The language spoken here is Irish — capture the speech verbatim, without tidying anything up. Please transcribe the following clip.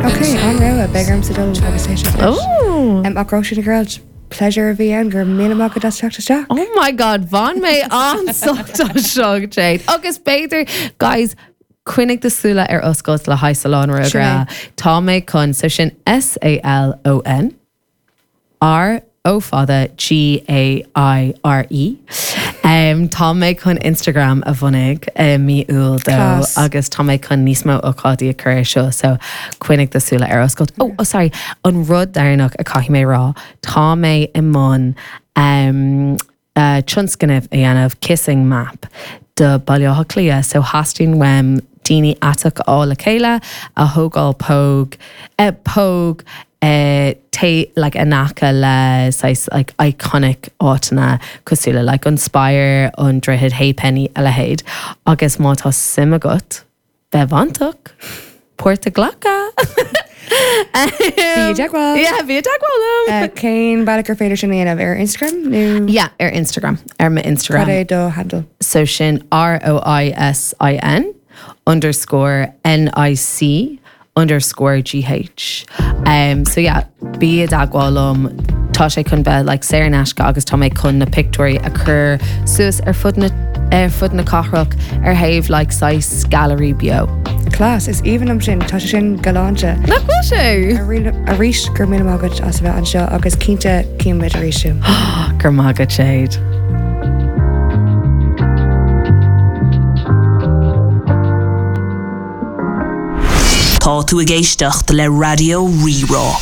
Ok, an-rogha beidh ormsa dul agus éisteacht leis. Oh. Um, ach Róisín Nic Gearailt, pleasure a bhí ann go raibh míle maith agat as teacht isteach. Oh my God, bhain mé an-sult as seo Jade. Agus b'fhéidir guys, coinnigh do shúile ar oscailt le haghaidh Salon Rógaire. Tá mé chun so sin S A L O N R O fada G A I R E. Um, tá mé chun Instagram a bhunú uh, mí Iúil dó Class. agus tá mé chun níos mó ócáidí a chur ar seo so coinnigh do shúile ar oscailt. Oh, oh sorry, an rud deireanach a caithfidh mé rá, tá mé i mbun um, uh, tionscnamh a dhéanamh kissing map do Baile Átha Cliath, so theastaigh uaim daoine aiteach á le chéile a thógáil póg eh, póg eh, té like in aice le saghas like iconic áiteanna cosúil le like an Spire an Droichead Halfpenny a leithéid agus má tá suim agat bheith bainteach páirt a ghlacadh. Bí i dteagmháil. Yeah, bí i dteagmháil liom. Uh, Cén bealach ar féidir sin a dhéanamh ar Instagram nó Yeah, ar Instagram, ar mo Instagram. Cad é do handle? So sin R O I S I N underscore N I C underscore G H. Um, so yeah, bí i dteagmháil liom tá sé chun bheith like, saor in aisce agus tá mé chun na pictiúirí a chur suas ar fud na ar fud na cathrach ar thaobh like, saghas gallery beo. Class is aoibhinn liom sin tá sé sin galánta. Nach bhfuil sé? Arís go raibh míle maith agat as a bheith anseo agus cinnte címid arís tú. Gur maith Jade. Tá tú ag éisteacht le Raidió Rí-Rá.